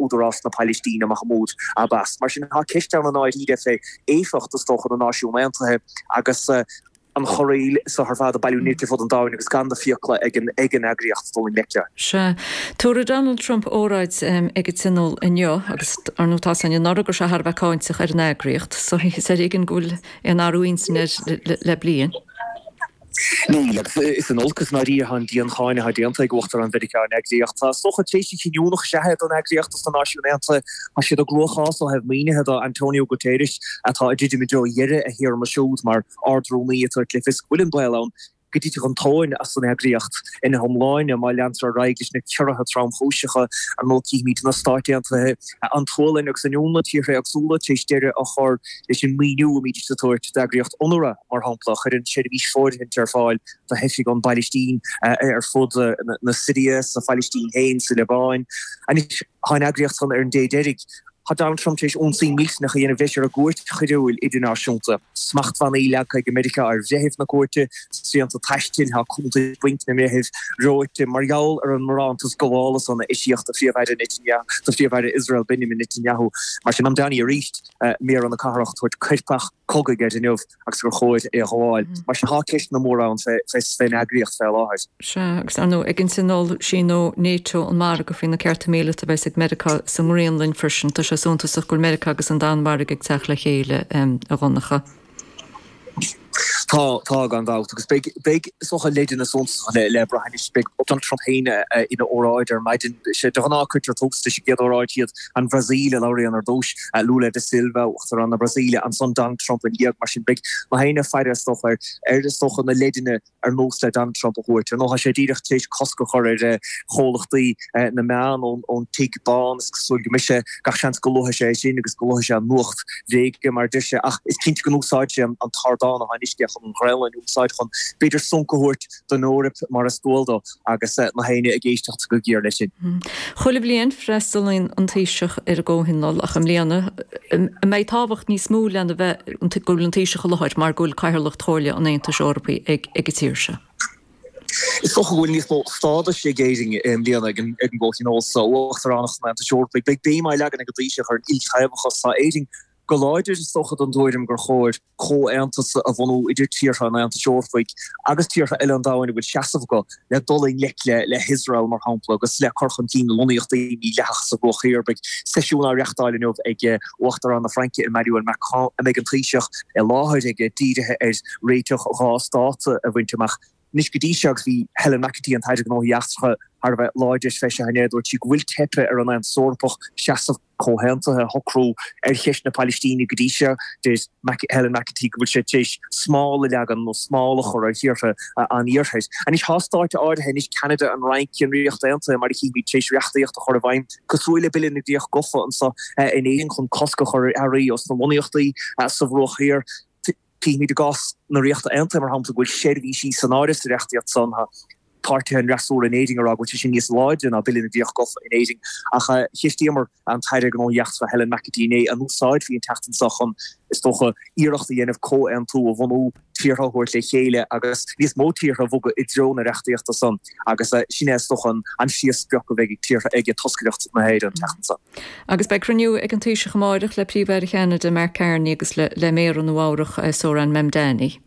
Údarás na Palaistíne, Mahmoud Abbas. Mar sin, tá ceist ann i ndáiríre fé éifeacht, is dócha, na Náisiún Aontaithe agus an chorraíl so ar fad ag bailiú nirt ar fud an domhain agus gan na fiacla ag an eagraíocht dul i ngleic leo. Sea. Tabharfaidh Donald Trump óráid ag an Tionól inniu agus, ar ndóigh, tá a fhios againn anuraidh go raibh sé thar a bheith cáinteach ar an eagraíocht so is ar éigean go bhfuil aon athrú intinne air le bliain. Níl, agus is in olcas i ndáiríre atá an diancháineadh atá déanta ag Uachtarán Mheiriceá ar an eagraíocht. Tá, is dócha, tréimhse chinniúnach is ea é don eagraíocht dos na Náisiúin Aontaithe. Tá siad i gcruachás ó thaobh maoinithe do Antonio Guterres atá ag druidim i dtreo dheireadh a théarma siúd mar Ard-Rúnaí ag tabhairt le fios go bhfuil an baol ann go dtitfeadh an tóin as an eagraíocht ina hiomláine má leantar ar aghaidh leis na ciorruithe tromchúiseacha. Ar ndóigh cífimid na Stáit Aontaithe, an tSualainn agus an Fhionlainn, tíortha éagsúla, tar éis deireadh a chur leis an maoiniú a mbídís ag tabhairt d'eagraíocht UNRWA, mar shampla, a chuireann seirbhís fóirithint ar fáil do theifigh ón bPailistín ar fud na Siria, sa Phailistín féin, sa Liobáin. Anois tá an eagraíocht san ar an dé deiridh. Tá Donald Trump tar éis ionsaí millteanach a dhéanamh leis ar an gCúirt Choiriúil Idirnáisiúnta. Smachtbhannaí leagtha ag Meiriceá ar bhreithimh na cúirte, srianta taistil, tá cuntais bainc na mbreitheamh reoite mar gheall ar an mbarántas gabhála san a eisíodh do Phríomh-Aire Netanyahu, do Phríomh-Aire Iosrael Benjamin Netanyahu. Mar sin, Mamdani arís, Méara na cathrach, ag tabhairt coirpeach cogaidh air inniu. agus gur chóir é a ghabháil. Mar sin, tá ceisteanna móra ann fén eagraíocht fé láthair. Sea, agus ar ndóigh, ag an Tionól síneoidh NATO an margadh faoi na cearta míleata a bheas ag Meiriceá sa nGraonlainn freisin. Tá sé suntasach go bhfuil Meiriceá agus an Danmhairg ag teacht le chéile, a Dhonncha. Tá, tá, gan dabht. Agus beidh, beidh, is dócha, leideanna suntasacha le brath anois. Beidh Donald Trump féin ina óráid ar maidin. Sé, de ghnáth cuirtear tús leis an gcéad óráid, siad an Bhrasaíl a labhraíonn ar dtús, Lula da Silva, Uachtarán na Brasaíle, ansan Donald Trump ina dhiaidh. Mar sin, beidh gach éinne ag faire, is dócha, ar, ar, is dócha, na leideanna ar nós le Donald Trump a thabhairt. Ar ndóigh, tá sé díreach tar éis cosc a chur ar chomhlachtaí na meán ón, ón Tigh Bán. Is cosúil go mbeidh sé, gach seans go luafaidh sé é sin agus go luafaidh sé an nuacht bhréige, mar a deir sé. Ach is cinnte go n-úsáidfidh sé an, an t-ardán atá anois aige chun an Ghraonlainn a úsáid chun, b'fhéidir, sonc a thabhairt don Eoraip, mar is dual dó. agus gach éinne ag éisteacht go géar leis sin. Chuile bhliain, freastalaíonn an Taoiseach ar an gComhthionól ach i mbliana, an mbeidh tábhacht níos mó lena bheith, go bhfuil an Taoiseach i láthair mar go bhfuil Cathaoirleacht Chomhairle an Aontais Eorpaigh ag an tír seo? Is dócha go bhfuil níos mó stádais ag Éirinn i mbliana ag an gComhthionól seo, Uachtaránacht an Aontais Eorpaigh. Beidh béim á leagan ag an Taoiseach ar an iltaobhachas. Tá Éirinn go láidir, is dócha, den tuairim gur chóir comhaontas a bhunú idir tíortha an Aontais Eorpaigh agus tíortha eile an domhain a bhfuil seasamh acu le dul i ngleic le hIosrael, mar shampla, agus le cur chun cinn na lonnaíochtaí mídhleathacha sa Bhruach Thiar. Beidh seisiún á reachtáil inniu ag Uachtarán na Fraince, Emmanuel Macron, a mbeidh an Taoiseach i láthair aige, dírithe ar réiteach 2 stát a bhaint amach. Anois go dtí seo, agus bhí Helen McEntee, an tAire Gnóthaí Eachtracha, thar a bheith láidir fé seo inné, dúirt sí go bhfuil teipthe ar an Aontas Eorpach seasamh comhaontaithe a shocrú ar cheist na Palaistíne go dtí seo. Deir Helen McEntee go bhfuil sé tar éis smál a leagan nó smál a chur ar thíortha an Iarthair. Anois tá stáit áirithe anois, Ceanada, an Fhrainc, an Ríocht Aontaithe, mar a chímid, tar éis reachtaíocht a chur i bhfeidhm cosúil le Bille na gCríoch Gafa anseo in Éirinn chun cosc a chur ar earraí os na lonnaíochtaí sa Bhruach Thiar. Címid i gcás na Ríochta Aontaithe, mar shampla, go bhfuil seirbhísí san áireamh sa reachtaíocht san. Tá páirtithe an fhreasúra in Éirinn ag rá go bhfuil sé sin níos láidre ná Bille na gCríoch Gafa in Éirinn. Ach cheistíomar an tAire Gnóthaí Eachtracha Helen McEntee inné an úsáidfí an tseachtain seo chun, is dócha, iarracht a dhéanamh comhaontú a bhunú, tíortha a thabhairt le chéile agus níos mó tíortha a bhogadh i dtreo na reachtaíochta san. Agus sin é, is dócha, an phríomhsprioc a bheidh ag tíortha, ag toscaireacht na hÉireann an tseachtain seo. Agus beidh cruinniú ag an Taoiseach amáireach le Príomh-Aire Cheanada, Mark Carney agus le Méara Nua Eabhrac, Zohran Mamdani.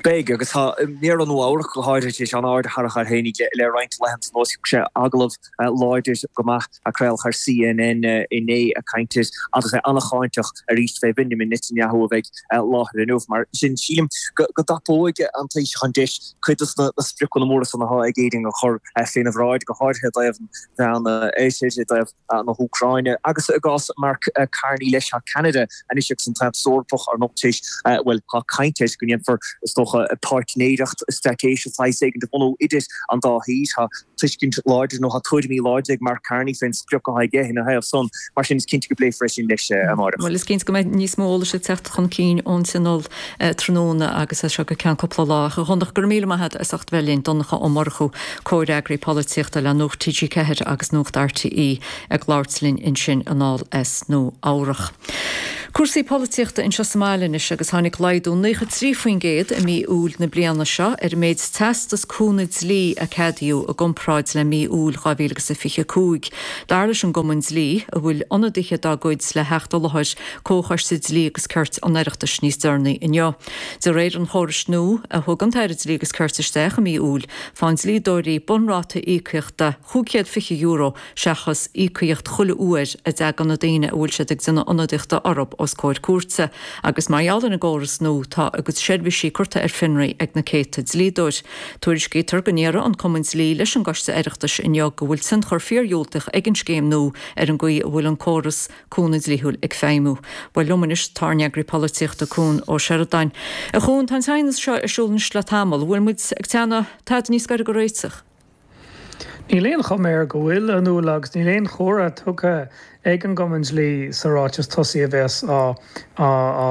Beidh, agus tá Méara Nua Eabhrac go háirithe tar éis an-aird a tharrac air féinig le roinnt laethanta anuas. Thug sé agallamh láidir go maith a craoladh ar CNN inné ag caint air agus é an-cháinteach arís fé Bhenjamin Netanyahu a bheidh i láthair inniu. Mar sin, sílim go dtapóidh an Taoiseach an deis cuid de na spriocanna móra san atá ag Éirinn a chur féna bhráid, go háirithe i dtaobh an Mheán Oirthir, i dtaobh na hÚcráine agus i gcás Mark Carney leis, tá Ceanada anois agus an tAontas Eorpach ar ndóigh tar éis, bhuel, tá caint air go ndéanfar, is dócha, páirtnéireacht straitéiseach saghas éigin a bhunú idir an dá thír. Tá tuiscint láidir nó tá tuairimí láidre ag Mark Carney fén sprioc atá aige ina thaobh san, mar sin is cinnte go bpléifear é sin leis amáireach. Bhuel, is cinnte go mbeidh níos mó eolais ag teacht chun cinn ón Tionól tráthnóna agus as seo go ceann cúpla lá. Ach a Dhonncha, go raibh míle maith agat as ucht bheith linn. Donncha Ó Murchú, Comhfhreagraí Polaitíochta le Nuacht TG4 agus Nuacht RTÉ ag labhairt linn ansin anall as Nua Eabhrach. Cúrsaí polaitíochta anseo sa mbaile anois agus tháinig laghdú 93% i mí Iúil na bliana seo ar an méid teastas cúnamh dlí a ceadaíodh i gcomparáid le mí Iúil 2025. Dar leis an gCumann Dlí, a bhfuil ionadaithe dá gcuid le theacht i láthair Comhchoiste Dlí agus Cirt an Oireachtais níos deireanaí inniu. De réir an chórais nua a thug an tAire Dlí agus Cirt isteach i mí Iúil, faigheann dlíodóirí bunráta íocaíochta €520 seachas íocaíocht chuile uair a dtagann na daoine a bhfuil siad ag déanamh ionadaíochta orthu os comhair cúirte, agus mar gheall ar an gcóras nua tá a gcuid seirbhísí curtha ar fionraí ag na céadta dlíodóir. Tuairiscítear go ndéarfaidh an Cumann Dlí leis an gCoiste Oireachtais inniu go bhfuil tionchar fíordhiúltach ag an scéim nua ar an gcaoi a bhfuil an córas cúnamh dlíthiúil ag feidhmiú. Bhuel liom anois tá ár n-eagraí polaitíochta Cuan Ó Seireadáin. A Chuain, tá an t-aighneas seo ar siúl anois le tamall. Bhfuil muid ag teannadh tada níos gaire do réiteach? Níl aon chuma air go bhfuil, a Nuala, agus níl aon chomhartha tugtha ag an gCumann Dlí sa ráiteas tosaigh a bheas á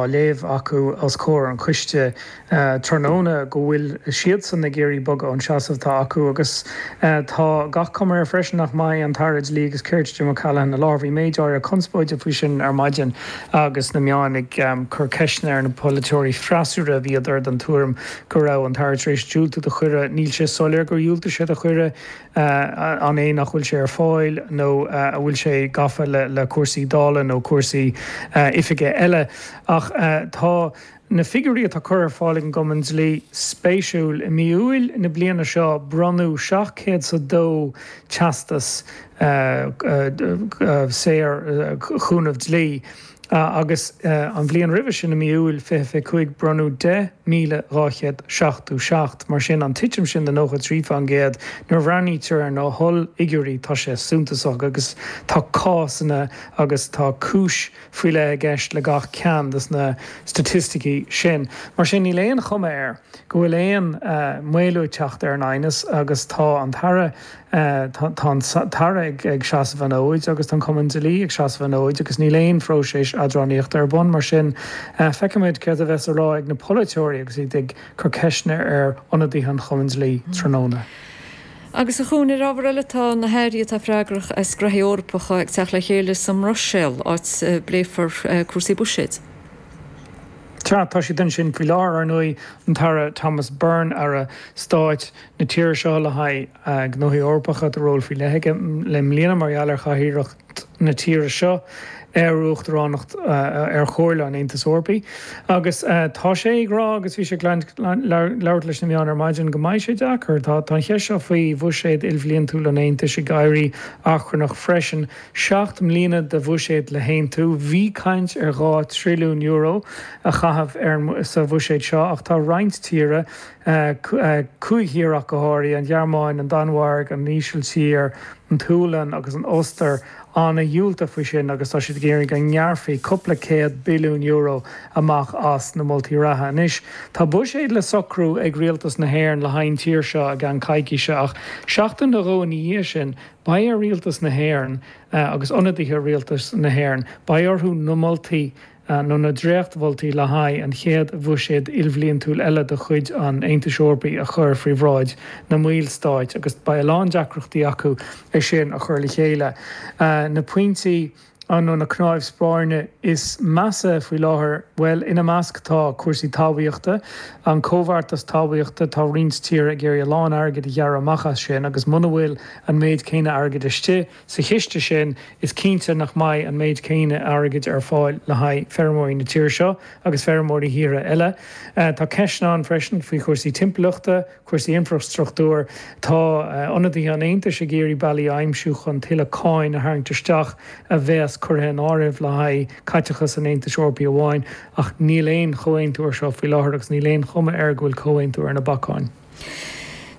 léamh acu os comhair an choiste tráthnóna go bhfuil siadsan ag iarraidh bogadh ón seasamh atá acu agus tá gach cuma air freisin nach mbeidh an tAire Dlí agus Cirt Jim O'Callaghan i láthair. Bhí méid áirithe conspóide faoi sin ar maidin agus na meáin ag cur ceisteanna ar na polaiteoirí freasúra a bhíodar den tuairim go raibh an tAire tar éis diúltú do chuireadh. Níl sé soiléir gur dhiúltaigh sé do chuireadh, an é nach bhfuil sé ar fáil nó a bhfuil sé gafa le cúrsaí Dála nó cúrsaí oifige eile. Ach tá na figiúirí atá curtha ar fáil ag an gCumann Dlí spéisiúil. I mí Iúil na bliana seo bronnadh 702 teastas saor chúnamh dlí. Agus an bhliain roimhe sin, i mí Iúil 2025, bronnadh 10,277. Mar sin, an titim sin de 93%, nuair a bhreathnaítear ar na hollfhigiúirí, tá sé suntasach agus tá cásanna agus tá cúis faoi leith i gceist le gach ceann de na staitisticí sin. Mar sin, níl aon chuma air go bhfuil aon mhaolú ag teacht ar an aighneas agus tá an tAire Tá an tAire ag seasamh an fhóid agus tá an Cumann Dlí ag seasamh an fhóid agus níl aon phróiseas eadránaíochta ar bun. Mar sin, feicfimid céard a bheas á rá ag na polaiteoirí agus iad ag cur ceisteanna ar ionadaithe an Chumainn Dlí tráthnóna. Agus a Chuain, ar ábhar eile, tá na hairí atá freagrach as graithí Eorpacha ag teacht le chéile sa mBruiséil, áit a bpléifear cúrsaí buiséid. Sea, tá siad ansin faoi láthair, ar ndóigh, an tAire Thomas Byrne, Aire Stáit na tíre seo le haghaidh Gnóthaí Eorpacha, tá ról faoi leith aige i mbliana mar gheall ar chathaoirleacht na tíre seo ar Uachtaránacht ar Chomhairle an Aontais Eorpaigh. Agus tá sé ag rá, agus bhí sé ag labhairt leis na meáin ar maidin, go mbeidh sé deacair. Tá an cheist seo faoi bhuiséad ilbhliantúil an Aontais ag éirí achrannach freisin. 7 mbliana de bhuiséad le haontú. Bhí caint ar €2 trilliún a chaitheamh ar sa bhuiséad seo ach tá roinnt tíortha, 5 thír ach go háirithe, an Ghearmáin, an Danmhairg, an Ísiltír, an tSualainn agus an Ostair, an-dhiúltach faoi sin agus tá siad ag iarraidh go ngearrfaí cúpla céad billiún euro amach as na moltaí reatha. Anois tá buiséad le socrú ag rialtas na hÉireann le haghaidh an tír seo i gceann coicíse ach seachtain nó dhó ina dhiaidh sin Beidh ar Rialtas na hÉireann agus ionadaithe Rialtas na hÉireann, beidh orthu na moltaí nó na dréachtmholtaí le haghaidh an chéad bhuiséad ilbhliantúil eile de chuid an Aontais Eorpaigh a chur faoi bhráid na mballstáit agus beidh a lán deacrachtaí acu é sin a chur le chéile. Na pointí. nó na cnáimh spairne is measa faoi láthair? Bhuel, ina measc tá cúrsaí talmhaíochta, an comhbheartas talmhaíochta, tá roinnt tíortha ag iarraidh a lán airgid a ghearradh amach as sin agus muna bhfuil an méid céanna airgid istigh sa chiste sin is cinnte nach mbeidh an méid céanna airgid ar fáil le haghaidh feirmeoirí na tíre seo agus feirmeoirí thíortha eile. Tá ceisteanna ann freisin faoi chúrsaí timpeallachta, cúrsaí infreastruchtúir. Tá ionadaithe an Aontais ag iarraidh bealaí a aimsiú chun tuilleadh cáin a tharraingt isteach a bheas curtha in áireamh le haghaidh caiteachas an Aontais Eorpaigh amháin, ach níl aon chomhaontú ar seo faoi láthair agus níl aon chuma air go bhfuil comhaontú ar na bacáin.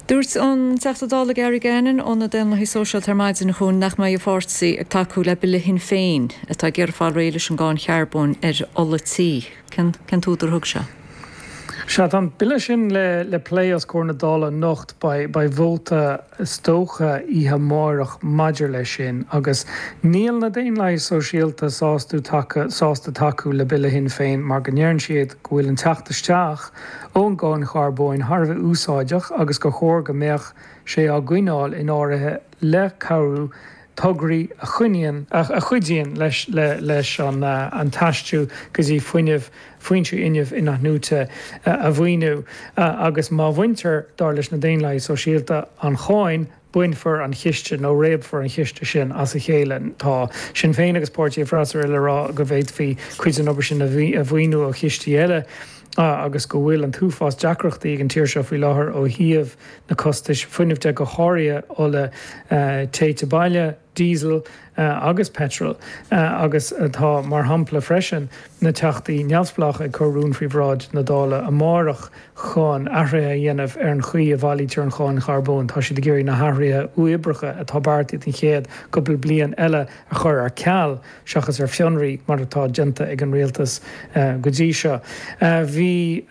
Dúirt an Teachta Dála Gary Gannon ó na Daonlathaigh Sóisialta ar maidin chugainn nach mbeidh a pháirtí ag tacú le Bille Shinn Féin atá ag iarraidh fáil réidh leis an gcáin charbóin ar ola tí. Cén t-údar a thug sé? Sea, tá an bille sin le plé os comhair na Dála anocht. Beidh vóta is dócha oíche amárach maidir leis sin agus níl na Daonlathaigh Sóisialta sásta tacú le bille Shinn Féin mar go ndeireann siad go bhfuil an teacht isteach ón gcáin charbóin thar a bheith úsáideach agus gur chóir go mbeadh sé á gcoinneáil in áirithe le cabhrú. tograí a choinníonn, a chuidíonn leis leis an t-aistriú go dtí fuinneamh, foinsí fhuinnimh inathnuaite a mhaoiniú agus má bhaintear, dar leis na Daonlathaigh Sóisialta, an cháin, bainfear an chiste nó réabfar an chiste sin as a chéile. Tá Sinn Féin agus páirtí an fhreasúra le rá go bhféadfaí cuid den obair sin a mhaoiniú ó chistí eile agus go bhfuil an t-uafás deacrachtaí ag an tír seo faoi láthair ó thaobh na costais fuinnimh de, go háirithe ola téite baile, diesel agus peitreal agus tá, mar shampla freisin, na Teachtaí neamhspleácha ag cur rún faoi bhráid na Dála amárach chun athruithe a dhéanamh ar an chaoi a bhailítear an cháin charbóin. Tá siad ag iarraidh na hathruithe uathoibríocha atá beartaithe don chéad cúpla bliain eile a chur ar ceal seachas ar fionraí mar atá déanta ag an rialtas go dtí seo. Bhí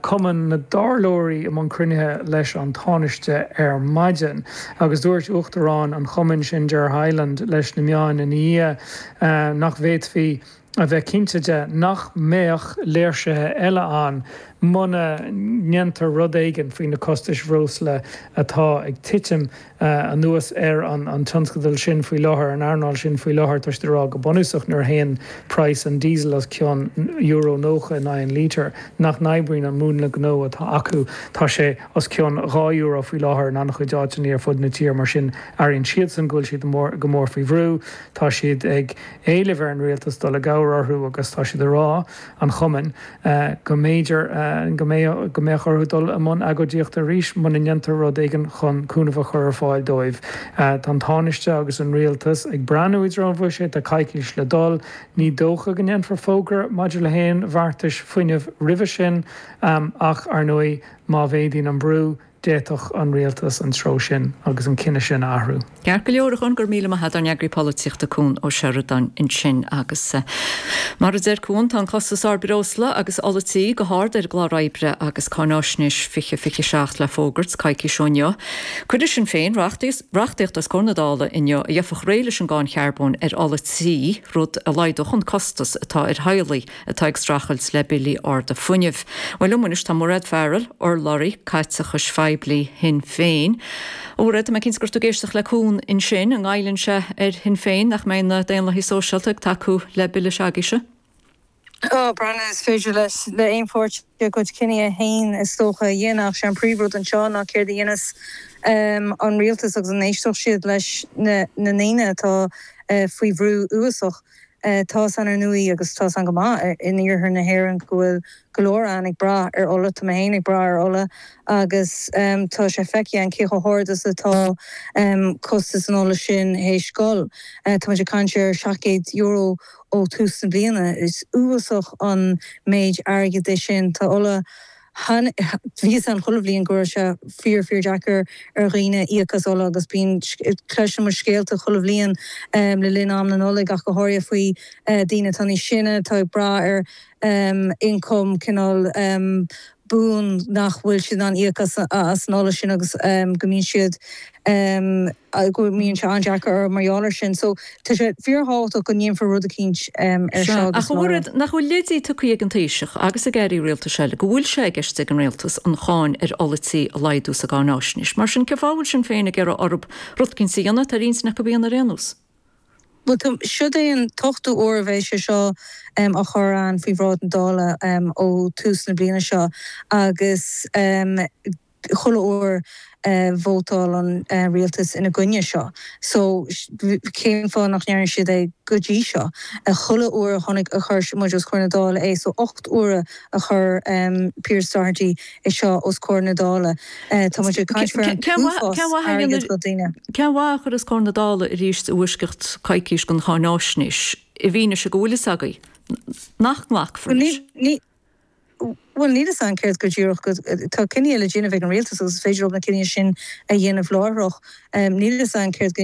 Cumann na dTairleoirí i mbun cruinnithe leis an Tánaiste ar maidin agus dúirt Uachtarán an chumainn sin, Ger Hyland, leis na meáin ina dhiaidh nach bhféadfaí a bheith cinnte de nach mbeadh léirsithe eile ann muna ndéantar rud éigin faoi na costais bhreosla atá ag titim anuas ar an tionscadal sin faoi láthair, an earnáil sin faoi láthair. Tá siad ag rá go bunúsach nuair a théann praghas an diesel os cionn euro 90 in aghaidh an lítir, nach n-oibríonn an múnla gnó atá acu. Tá sé os cionn €2 faoi láthair in an-chuid áiteanna ar fud na tíre, mar sin airíonn siadsan go bhfuil siad go mór faoi bhrú. Tá siad ag éileamh ar an rialtas dul i gcabhair orthu agus tá siad ag rá, an chumainn, go mb'fhéidir go mbeadh go mbeadh orthu dul i mbun agóidíochta arís muna ndéantar rud éigin chun cúnamh a chur ar fáil dóibh. Tá an Tánaiste agus an rialtas ag breathnú i dtreo an bhuiséid, tá coicís le dul. Ní dócha go ndéanfar fógra maidir le haon bheartais fuinnimh roimhe sin ach, ar ndóigh, má mhéadaíonn an brú, D'fhéadfadh an rialtas an treo sin agus an cinneadh sin a athrú. Ceart go leor, a Chuan, go raibh míle maith agat, ár n-eagraí polaitíochta Cuan Ó Seireadáin ansin. Agus mar a deir Cuan, tá an costas ard breosla agus ola tí go hard ar an gclár oibre agus Cáináisnéis 2027 le fógairt coicís ó inniu. Cuirfidh Sinn Féin reachtaíocht os comhair na Dála inniu a gheobhadh réidh leis an gcáin charbóin ar ola tí, rud a laghdódh an costas atá ar theaghlaigh. atá ag streachailt le billí arda fuinnimh. Bhuel, liom anois tá Mairéad Farrell, urlabhraí caiteachais phoiblí Shinn Féin. A Mhairéad, tá mé cinnte go raibh tú ag éisteacht le Cuan ansin. An ngoilleann sé ar Shinn Féin nach mbeidh na Daonlathaigh Sóisialta ag tacú le bille s'agaibhse? Ó, Brenna, is féidir leis, le aon pháirtí a gcuid cinní féin is dócha a dhéanamh ach sé an príomhrud anseo ná céard a dhéanfas an rialtas agus an éistfeadh siad leis na ndaoine atá faoi bhrú uafásach. Tá's a'inn ar ndóigh, agus tá's a'inn go maith in iarthar na hÉireann go bhfuil go leor a'inn ag brath ar ola, tá mé féin ag brath ar ola agus tá sé feicthe a'inn cé chomh hard is atá costas an ola sin théis dhul. Tá muid ag caint ar €700 ó tús na bliana. Is uafásach an méid airgid é sin. Tá ola. Bhí a fhios a'inn chuile bhliain go raibh sé fíor fíor deacair ar dhaoine íoc as ola agus bíonn, cloiseann muid scéalta chuile bhliain le linn am na Nollag ach go háirithe faoi daoine atá níos sine atá ag brath ar ioncam cineál buan nach bhfuil siad in ann íoc as an ola sin agus go mbíonn siad go mbíonn sé an-deacair orthu mar gheall air sin. So tá sé fíorthábhachtach go ndéanfar rud eicínt ar seo agus Ach a Mhairéad, nach bhfuil leidí tugtha ag an Taoiseach agus ag airí rialtais eile go bhfuil sé i gceist ag an rialtas an cháin ar ola tí a laghdú sa gcáináisnéis. Mar sin, cén fáth a bhfuil Sinn Féin ag iarraidh orthu rud eicínt a dhéanamh atá ar intinn acu a dhéanamh ar aon nós? Bhuel, tá, siod é an t-ochtú uair a bheidh sé seo á chur a'inn faoi bhráid na Dála ó tús na bliana seo agus chuile uair vótáil an rialtas ina gcoinne seo. So cén fáth nach ndearna siad é go dtí seo? Chuile uair a chonaic, a chuir muid os comhair na Dála é, so 8 uaire a chuir Pearse Doherty é seo os comhair na Dála. Tá muid ag caint faoi an t-uafás airgid do dhaoine. Cén mhaith a chur os comhair na Dála arís i bhfoisceacht coicís den cháináisnéis i bhfianaise go bhfuil fhios agaibh nach nglacfar leis? Bhuel, níl fhios a'inn céard go díreach go, tá cinní le déanamh ag an rialtas agus is féidir leo na cinní sin a dhéanamh láithreach. Níl fhios a'inn céard go,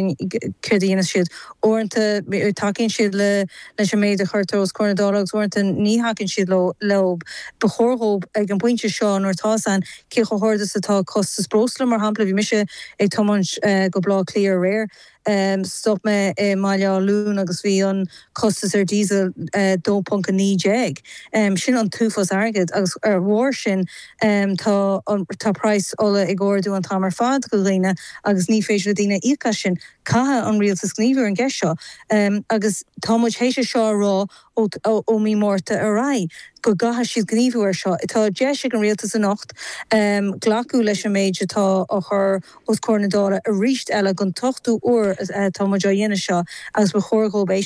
céard a dhéanfas siad. Uaireanta tacaíonn siad le, leis an méid a chuirtear os comhair na Dála agus uaireanta ní thacaíonn siad leo, leo. Ba chóir dhóibh ag an bpointe seo nuair atá fhios a'inn cé chomh hard is atá costas breosla, mar shampla, bhí mise ag tiomáint go Baile Átha Cliath aréir, Stop mé i mBaile Átha Luain agus bhí an costas ar diesel 2.19. Sin an t-uafás airgid agus. ar bharr sin tá tá praghas ola ag ardú an t-am ar fad do dhaoine agus ní féidir le daoine íoc as sin. Caithfidh an rialtas gníomhú ar an gceist seo agus tá muid théis é seo a rá ó ó mí Márta ar aghaidh go gcaithfidh siad gníomhú ar seo. Tá deis ag an rialtas anocht glacadh leis an méid atá á chur os comhair na Dála arís eile don t-ochtú uair atá muid á dhéanamh seo agus ba chóir dhóibh éisteacht.